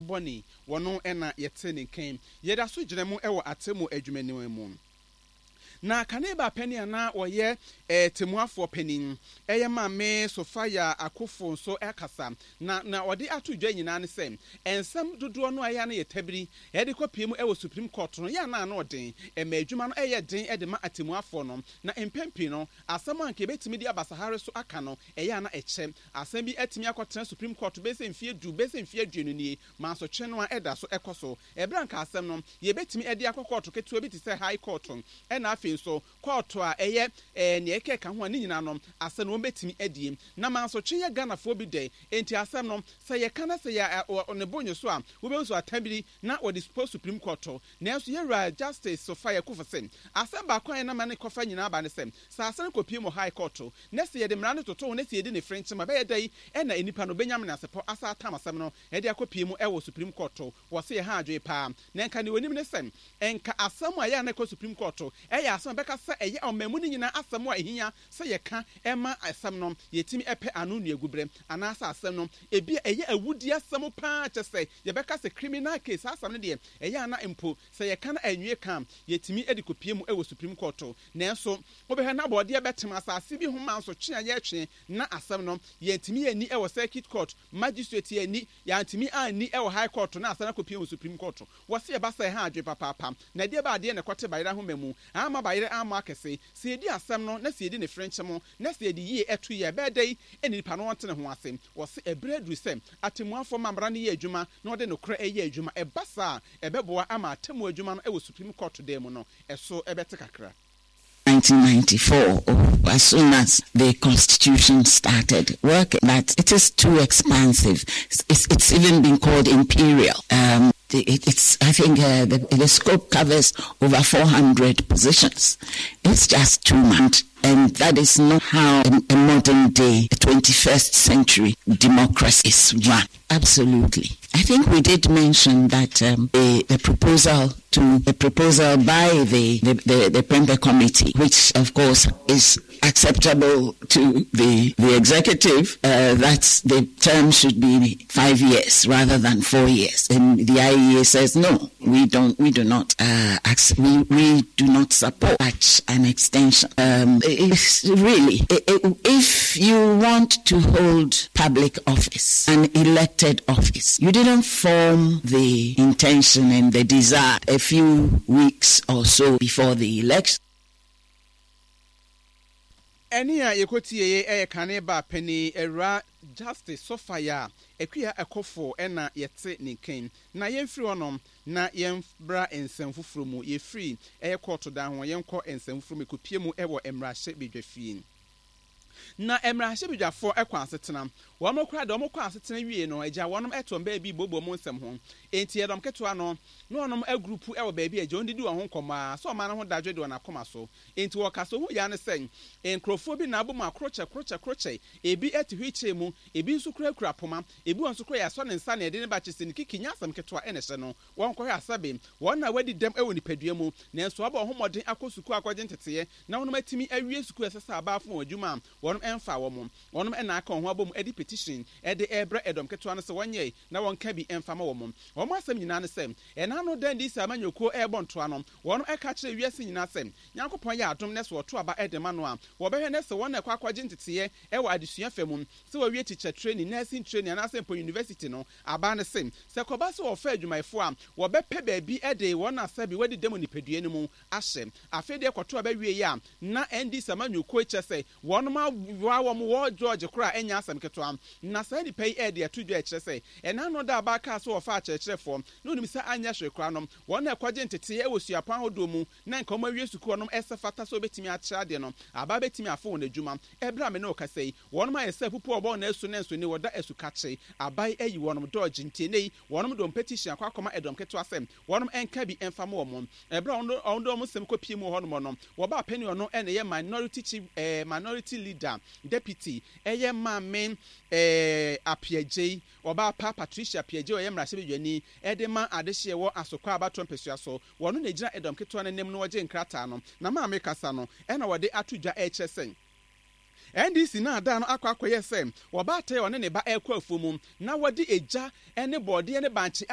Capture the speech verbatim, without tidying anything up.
Bɔne wɔno ɛna yɛte ne nkan. Yɛda so gyina mu ɛwɔ atemmu adwumaniwa mu na kane ba panin a na wɔyɛ ɛɛ temuafoɔ panin, ɛyɛ Maame Sophia Akuffo, nso ɛkasa na na ɔde ato dwa nyinaa ne sɛ nsɛm dodoɔ no a ɛyɛ no yɛ tabiri ɛde kɔ pie mu ɛwɔ Supreme Court no yɛ ana ano ɔden, ɛmɛ adwuma no ɛyɛ den ɛde ma atemuafoɔ no. Na mpɛn pii no, asɛm a nka ebɛtumi de aba sahare so aka no, ɛyɛ ana ɛkyɛ. Asɛm bi atumi akɔtena Supreme Court bɛsɛ mfie du, bɛsɛ mfie aduonu nie, mansotwe no a ɛda so ɛkɔ so, ɛberɛ nka asɛm no yɛbɛtumi ɛde akɔ kɔɔto ketewa bi te sɛ High Court, ɛna afei nso kɔɔto a ɛyɛ ɛɛ nea ɛkɛ ka ho a ne nyinaa no asɛm no wɔn bɛtumi adie. Na mansotwe yɛ Ghanafoɔ bi dɛ, enti asɛm no sɛ yɛka na sɛ yɛ ne bo nye so a, wobɛhu so atabiri na wɔde kɔ Supreme Court. Nanso yɛwura Justice Sophia Akuffo sɛ asɛm baako a yɛnam ne kɔfa nyinaa ba ne sɛ sɛ asɛm kɔpie mu High Court na sɛ yɛde mmara no toto ho na sɛ yɛdi ne frenkyɛm a, ɛbɛyɛ dɛ ɛna nipa no bɛnyam ne asepɔ asa atam asɛm no ɛde akɔpie mu ɛwɔ Supreme Court. Wɔ sɛ yɛ ha adwene paa na nka ne onim ne sɛ nka asɛm a ɛyɛ a na ɛkɔ Supreme Court ɛyɛ asɛm a bɛka sɛ ɛyɛ ɔman mu no nyinaa asɛm a ɛhia sɛ yɛka ɛma asɛm no yɛtumi ɛpɛ ano nnuagu berɛ, anaasɛ asɛm no ebi a ɛyɛ awudi asɛm paa, kyɛ sɛ yɛbɛka sɛ criminal case. Asɛm no deɛ, ɛyɛ ana mpo sɛ yɛka no anwie ka, yɛtumi de kɔpie mu ɛwɔ Supreme Court. Nanso wobɛhwɛ na bɔɔdeɛ bɛtem asase bi ho ma nso twe a yɛtwe na asɛm no yɛntumi yɛni ɛwɔ Circuit Court, magistrate yɛni, yɛantumi anni ɛwɔ High Court na asɛm akɔpie mu Supreme Court. Wɔsi ɛba sɛ ɛha adwe papaapa. Na ɛdeɛ ba adeɛ na ɛkɔte bayerɛ ahoma mu ama bayerɛ ama akɛse sɛ yɛdi asɛm no na sɛ yɛdi ne frenkyɛ na sɛ yɛde yie ɛto yɛ, ɛbɛyɛ dɛ ɛne nipa no wɔnte ne ho ase. Wɔsi ɛberɛ aduru sɛ atemmuafoɔ ma mmara no yɛ adwuma na wɔde nokorɛ ɛyɛ adwuma. Ɛba saa, ɛbɛboa ama atemmu adwuma no ɛwɔ Supreme Court dan mu no ɛso ɛbɛte kakra. nineteen ninety-four, or as soon as the Constitution started working, that it is too expansive. It's, it's even been called imperial. Um, it, it's, I think uh, the, the scope covers over four hundred positions. It's just too much. And that is not how a, a modern day, twenty-first century democracy is run. Absolutely. I think we did mention that um, the, the proposal to the proposal by the, the, the, the Prempeh Committee, which of course is acceptable to the, the executive, uh, that the term should be five years rather than four years. And the I E A says no, we don't, we do not, uh, we, we do not support such an extension. Um, it's really, if you want to hold public office, an elected office, you didn't form the intention and the desire a few weeks or so before the election. Ɛne a yɛkɔtie yɛ ɛyɛ kane ba panin, Awura Justice Sophia Akua Akuffo, ɛna yɛte ne nkan. Na yɛmfiri hɔnom na yɛmbra nsɛm foforɔ mu. Yɛfiri ɛyɛ kɔɔto dan ho, yɛnkɔ nsɛm foforɔ mu. Ɛkɔpie mu ɛwɔ mmarahyɛ badwa fie na mmarahyɛ badwafoɔ ɛkɔ asetena. Wɔn kora deɛ, wɔn kɔ asetena wie no, agya wɔn ɛtɔ baabi bobo mu nsɛm ho. Enti ɛdɔm ketewa no na wɔn agroup ɛwɔ baabi a agya wɔn didi wɔn ho nkɔmɔ a sɛ ɔman no ho dadwe de wɔn akoma so. Enti wɔkasa ho ya ne sɛ nkurɔfoɔ bi na abɔ mu akorokyɛ korokyɛ korokyɛ, ebi ɛte wheelchair mu, ebi nso kurakura poma, ebi wɔn nso kura yɛasɔ ne nsa na yɛde ne ba kyɛ sɛ ne kiki nyɛ asɛm ketewa. Ɛna ɛhyɛ no wɔn kɔhwɛ asabe wɔn na wɔadi dɛm ɛwɔ nipadua mu, nanso wɔabɔ wɔn ho mmɔden akɔ sukuu akɔgye nteteɛ na wɔn atumi awie sukuu. Ɛsɛ sɛ abaafo wɔn adwuma a wɔn ɛmfa wɔn wɔn ɛna aka wɔn ho abɔ mu ɛde petition ɛde ɛrebrɛ ɛdɔm ketewa no sɛ wɔnyɛ na wɔnka bi ɛmfa ma wɔn. Wɔn asɛm nyinaa ne sɛ ɛna no dan di sɛ amanyɔkuo ɛrebɔ ntoa no, wɔn ɛka kyerɛ wiase nyinaa sɛ Nyankopɔn yɛ adom ne sɛ wɔto aba ɛde ma no a, wɔbɛhwɛ ne sɛ wɔn na ɛkɔ akɔgye nteteɛ ɛwɔ adesua fɛ mu, sɛ wɔawie teacher training, nursing training anaasɛ mpo university no aba ne se sɛ kɔba sɛ wɔfa adwumayɛfoɔ a, wɔbɛpɛ baabi ɛde wɔn asɛ bi wɔde dɛm nipadua no mu ahyɛ. Afei deɛ, kɔto aba wie yi a, na N D C amanyɔkuo kyɛ sɛ wɔn awoa wɔn wɔ George koraa, ɛnyɛ asɛm ketewa. Na saa nipa yi ɛde ato dwa ɛkyerɛ sɛ ɛna no da aba kaa so wɔfa akyerɛkyerɛfoɔ na onim sɛ anyɛ hwee koraa no, wɔn na ɛkɔgye nteteɛ ɛwɔ suapɔn ahodoɔ mu na nka wɔn awie sukuu no, ɛsɛ fata sɛ wɔbɛtumi akyerɛ adeɛ no aba bɛtumi afo wɔn adwuma. Ɛberɛ a me ne ɔkasa yi, wɔn ayɛ sɛ pupu ɔbɔ na asu ne nso ne wɔda asu kakye aban ayi wɔn dɔɔgye. Ntie ne yi, wɔn de wɔn petition akɔ akɔma ɛdɔm ketewa sɛ wɔn nka bi mfa ma wɔn. Ɛberɛ a wɔn de wɔn nsɛm kɔ pie mu wɔ hɔnom no, wɔba apɛni ɔno ɛna ɛyɛ minority chief, ɛɛ minority leader deputy, ɛyɛ Maame ɛɛ Appiagyei, ɔbaa pa Patricia Appiagyei, ɔyɛ mmarahyɛbadwani ɛde ma adehyeɛ wɔ Asokwa abatoɔ mpɛsua so. Wɔn na gyina ɛdɔm ketewa no anim no, wɔgye nkrataa no na maame kasa no, ɛna wɔde ato dwa ɛrekyerɛ sɛ N D C na ada no akɔ akɔyɛ sɛ wɔbaata ɔne ne ba ɛrekɔ afuo mu na wɔde egya ne bɔɔdeɛ ne bankye.